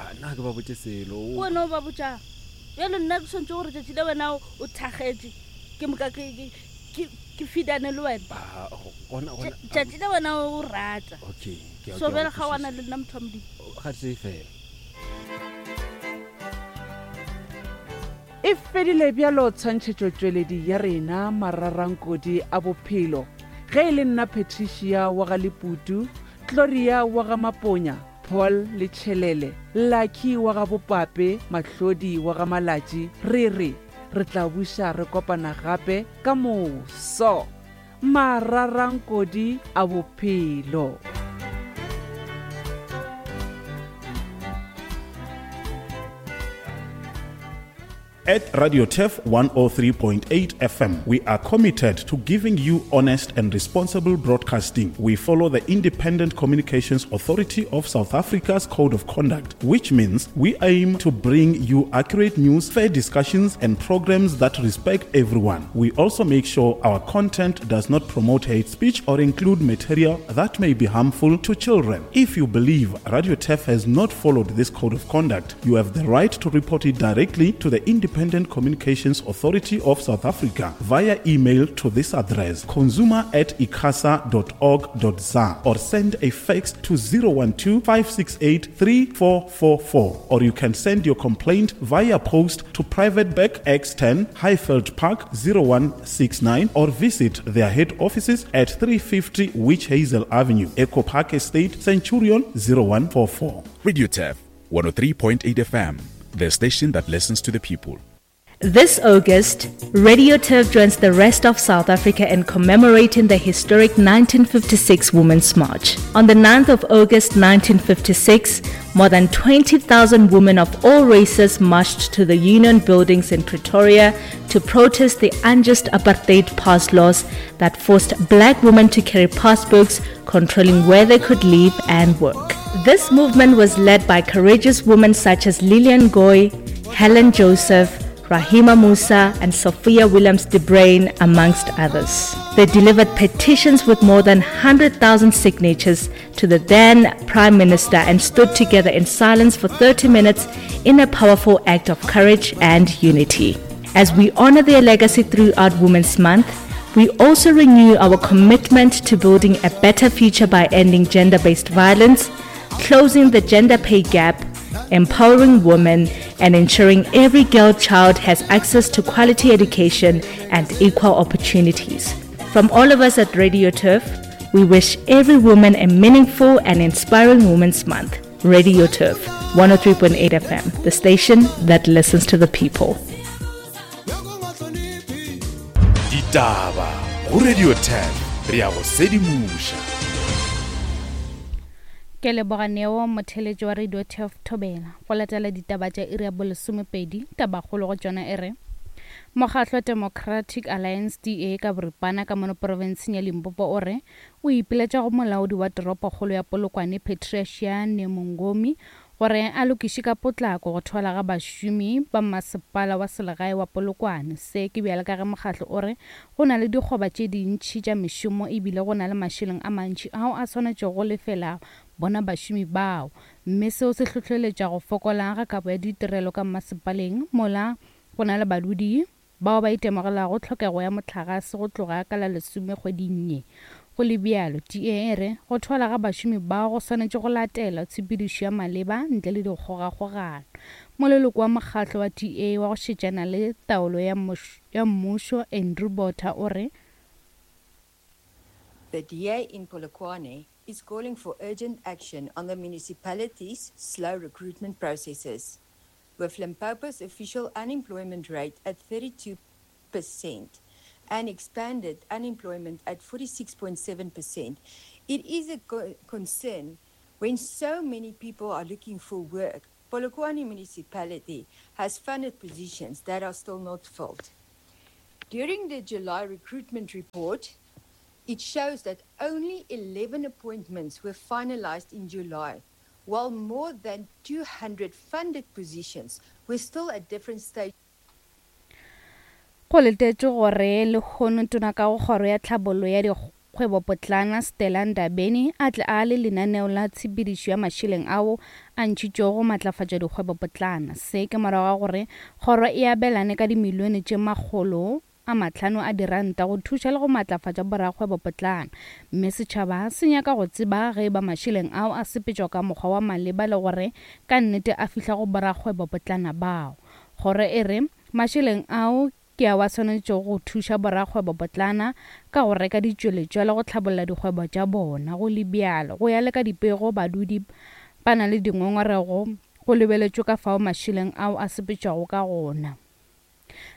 Ah, nna ke ba botše selo. Ke wena o ba botšang. Bjale nna ke swantše gore tšatši le wena o thakgetše ke moka ke ke ke ke feedane le wena. Ah, gona gona. Tšatši le wena o rata. Okay, ke a So bjale kgaoana le nna motho wa Modimo. Ga tee fela. E fedile bjalo tshwantšhetšotšweledi ya rena Mararankodi a Bophelo. Ge e le nna Patricia wa ga Leputu, Gloria wa ga Maponya, Paul le Tšhelele, Lucky wa ga Bopape, Mahlodi wa ga Malatši, re re re tla buša re kopana gape ka moso. Mararankodi a Bophelo. At Radio Turf 103.8 FM, we are committed to giving you honest and responsible broadcasting. We follow the Independent Communications Authority of South Africa's Code of Conduct, which means we aim to bring you accurate news, fair discussions, and programs that respect everyone. We also make sure our content does not promote hate speech or include material that may be harmful to children. If you believe Radio Turf has not followed this code of conduct, you have the right to report it directly to the Independent Communications Authority of South Africa via email to this address consumer at icasa.org.za or send a fax to 012 568 3444 or you can send your complaint via post to Private Bank X10 Highveld Park 0169 or visit their head offices at 350 Witch Hazel Avenue, Echo Park Estate, Centurion 0144. Radio Turf 103.8 FM, the station that listens to the people. This August, Radio Turf joins the rest of South Africa in commemorating the historic 1956 Women's March. On the 9th of August 1956, more than 20,000 women of all races marched to the Union buildings in Pretoria to protest the unjust apartheid pass laws that forced black women to carry passbooks controlling where they could live and work. This movement was led by courageous women such as Lillian Goy, Helen Joseph, Rahima Moosa, and Sophia Williams de Bruyn, amongst others. They delivered petitions with more than 100,000 signatures to the then Prime Minister and stood together in silence for 30 minutes in a powerful act of courage and unity. As we honor their legacy throughout Women's Month, we also renew our commitment to building a better future by ending gender based violence, closing the gender pay gap, empowering women, and ensuring every girl child has access to quality education and equal opportunities. From all of us at Radio Turf, we wish every woman a meaningful and inspiring Women's Month. Radio Turf, 103.8 FM, the station that listens to the people. Ditaba go Radio 10 re ya go sedimoša. Ke leboga Neo, motheeletši wa Radio Turf Thobela. Go latela ditaba tša iri ya bolesomepedi, tabakgolo go tšona e re, Mokgatlo Democratic Alliance, DA, ka boripana ka mono profenseng ya Limpopo o re o ipiletša go molaodi wa toropokgolo ya Polokwane Patricia Nemungomi gore a lokiše ka potlako go thwala ga bašomi ba masepala wa selegae wa Polokwane. Se ke bjale ka ge mokgatlo o re go na le dikgoba tše dintši tša mešomo ebile go na le mašeleng a mantši ao a swanetšego go lefela bona bašomi bao mme seo se hlohleletša go fokola ga kabo ya ditirelo ka mmasepaleng mola go na le badudi bao ba itemogelago tlhokego ya mohlagase go tloga ka la lesome kgweding ye. Go le bjalo, DA e re go thwala ga bašomi bao go swanetše go latela tshepedišo ya maleba ntle le dikgogakgogano. Moleloko wa mokgatlo wa DA wa go šetšana le taolo ya mmušo, Andrew Botha o re, The DA in Polokwane is calling for urgent action on the municipality's slow recruitment processes. With Limpopo's official unemployment rate at 32% and expanded unemployment at 46.7%, it is a co concern when so many people are looking for work. Polokwane municipality has funded positions that are still not filled. During the July recruitment report, it shows that only 11 appointments were finalized in July, while more than 200 funded positions were still at different stages. Go letetšwe gore lehono Tona ka go Kgoro ya Tlhabollo ya Kgwebopotlana Stella Ndabeni a tle a le lenaneo la tshepedišo ya mašeleng ao a ntšhitšwego go matlafatša dikgwebopotlana. Se ke morago ga gore kgoro e abelane ka dimilione tše 500 a diranta go thuša le go matlafatša borakgwebopotlana mme setšhaba se nyaka go tseba ge eba mašeleng ao a sepetšwa ka mokgwa wa maleba le gore ka nnete a fihla go borakgwebopotlana bao. Kgoro e re mašeleng ao ke ao a swanetšego go thuša borakgwebopotlana ka go reka ditšweletšwa le go hlabolla dikgwebo tša bona. Go le bjalo, go ya le ka dipego, badudi ba na le dingongorego go lebeletšwe ka fao mašeleng ao a sepetšwago ka gona.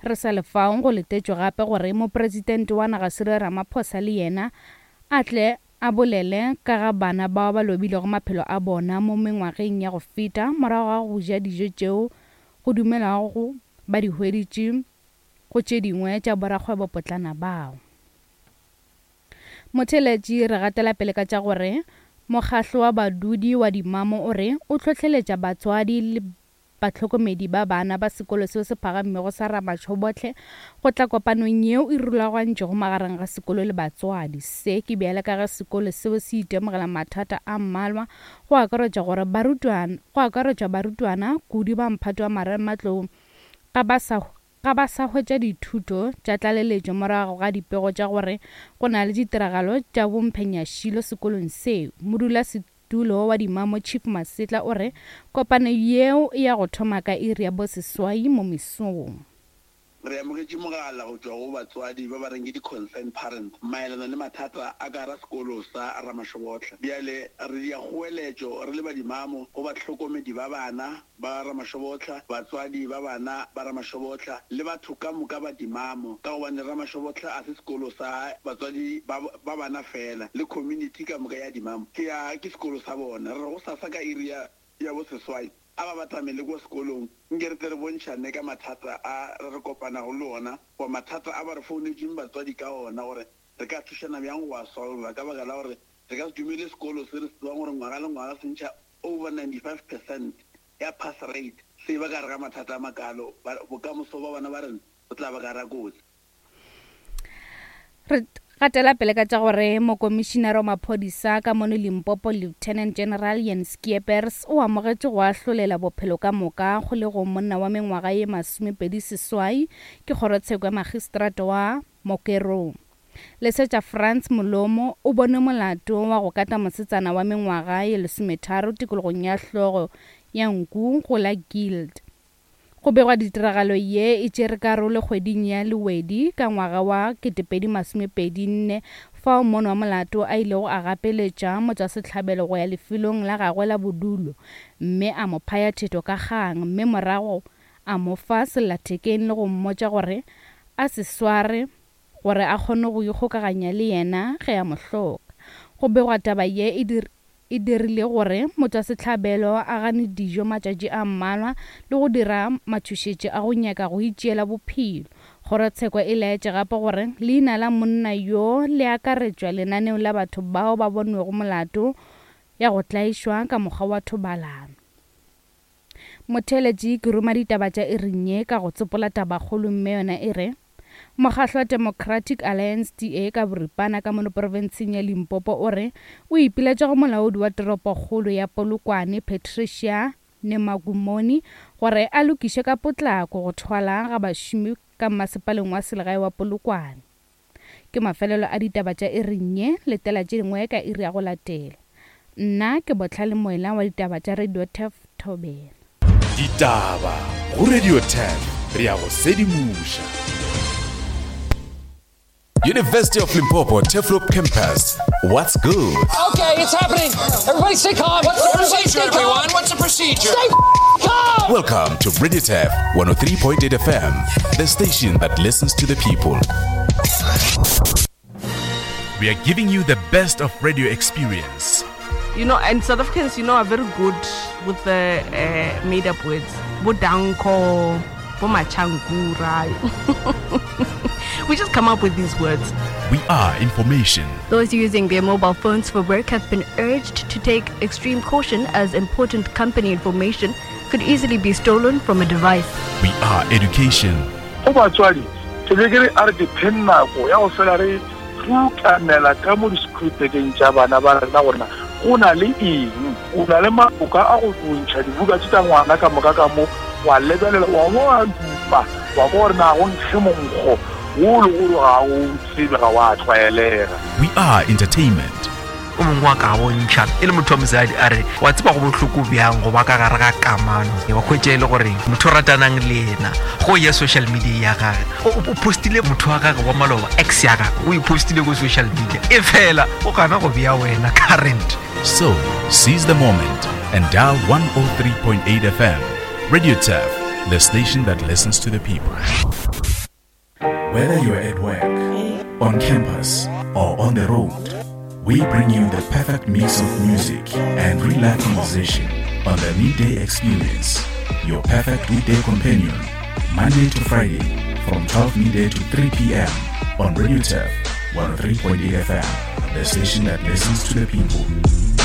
Re sa le fao, go letetšwe gape gore Mopresidente wa naga Cyril Ramaphosa le yena a tle a bolele ka ga bana bao ba lobilego maphelo a bona mo mengwageng ya go feta morago ga go ja dijo tšeo go dumelwago ba di hweditše go tše dingwe tša borakgwebopotlana bao. Motheeletši re gatela pele ka tša gore mokgahlo wa badudi wa Dimamo o re o hlohleletša batswadi le bahlokomedi ba bana ba sekolo seo se phagamego sa Ramatshobohle go tla kopanong yeo e rulagantšwego magareng ga sekolo le batswadi. Se ke bjale ka ge sekolo seo se itemogela mathata a mmalwa go akaretša gore barutwana go akaretšwa barutwana kudu ba mphato wa marematlou ga ba sa ga ba sa hwetša dithuto tša tlaleletšo morago ga dipego tša gore go na le ditiragalo tša bomphenyašilo sekolong seo. Modulasetulo wa Dimamo Chief Masetla o re kopano yeo e ya go thoma ka iri ya boseswai mo mesong. Re amogetše mogala go tšwa go batswadi ba ba reng ke di-concerned parents maelana le mathata a ka gara sekolo sa Ramashobotla. Bjale re dia kgoeletšo re le badimamo go bahlokomedi ba bana ba Ramashobotla, batswadi ba bana ba Ramashobotla le batho ka moka ba Dimamo ka gobane Ramashobotla a se sekolo sa batswadi ba ba bana fela le community ka moka ya Dimamo ke ya ke sekolo sa bona. Re re gosasa ka iri ya ya boseswai a ba batamele kwa sekolong nke re tle re bontšhane ka mathata a re re kopanago le ona goba mathata a ba re founetšeng batswadi ka ona gore re ka thušana bjang go a solva ka baka la gore re ka se dumele sekolo se re se tsebang gore ngwaga le ngwaga se ntšha over 95 percent ya pass rate se ba ka gare ga mathata a makalo bokamoso ba bana ba rena bo tla ba ka gara kotsi. Re gatela pele ka tša gore Mokomišinara wa Maphodisa ka mono Limpopo Lieutenant General Jan Schiepers o amogetše go ahlolela bophelo ka moka kgolegong monna wa mengwaga ye 28 ke kgorotsheko ya Magistrata wa Mokerong. Lesetša Frans Molomo o bonwe molato wa go kata mosetsana wa mengwaga ye 13 tikologong ya hlogo ya nku go la Guild. Go begwa ditiragalo ye e tšere karolo kgweding ya Lewedi ka ngwaga wa 2024 fao mono wa molato a ilego a gapeletša motšwasehlabelo go ya lefelong la gagwe la bodulo mme a mo phaya thetho ka kgang mme morago a mo fa sellathekeng le go mmotša gore a se sware gore a kgone go ikgokaganya le yena ge a mo hloka. Go begwa taba ye e e dirile gore motšwasehlabelo a gane dijo matšatši a mmalwa le go dira matšhošetši a go nyaka go itšeela bophelo. Kgorotsheko e laetše gape gore leina la monna yo le akaretšwa lenaneong la batho bao ba bonwego molato ya go tlaišwa ka mokgwa wa thobalano. Motheeletši, ke ruma ditaba tša iring ye ka go tsopola tabakgolo mme yona e re, Mokgahlo wa Democratic Alliance, DA, ka boripana ka mono profenseng ya Limpopo o re o ipiletša go molaodi wa toropokgolo ya Polokwane Patricia Nemagumoni gore a lokiše ka potlako go thwala ga bašomi ka mmasepaleng wa selegae wa Polokwane. Ke mafelelo a ditaba tša iring ye, letela tše dingwe ka iri ya go latela. Nna ke Bohlale Moela wa ditaba tša Radio Turf Thobela. Ditaba go Radio Turf, re a go sedimoša. University of Limpopo Turfloop Campus. What's good? Okay, it's happening. Everybody stay calm. What's the Everybody procedure, stay calm. everyone? What's the procedure? Stay calm. Welcome to Radio Turf 103.8 FM, the station that listens to the people. We are giving you the best of radio experience. You know, and South Africans, you know, are very good with the made up words. Bodanko, Bomachankura. We just come up with these words. We are information. Those using their mobile phones for work have been urged to take extreme caution as important company information could easily be stolen from a device. We are education. Go batswadi, ke be ke re a re ke pheng nako ya go fela re Putamela ka mo di-school-bageng tša bana ba rena gore na go na le eng. O na le maloka a go ntšha dibuka tše tša ngwana ka moka ka mo, wa lebelela, wa bo wa dupa, wa kwa gore na go nkge monkgo wo le gore ga o tsebe, ga wa tlwaelega. We are entertainment. O mongwe wa ka bontšha e le motho wa mosadi a re wa tseba go bohloko bjang go ba ka gare ga kamano wa kgwetša e le gore motho o ratanang le yena go ya social media ya gage o postile motho wa gage wa maloba ex ya gage o e postile ko social media e fela o gana go bea wena current. So, seize the moment and dial 103.8 FM. Radio Turf, the station that listens to the people. Whether you're at work, on campus, or on the road, we bring you the perfect mix of music and real life conversation on the Midday Experience, your perfect weekday companion, Monday to Friday from 12 midday to 3 p.m. on Radio Turf 103.8 FM, the station that listens to the people.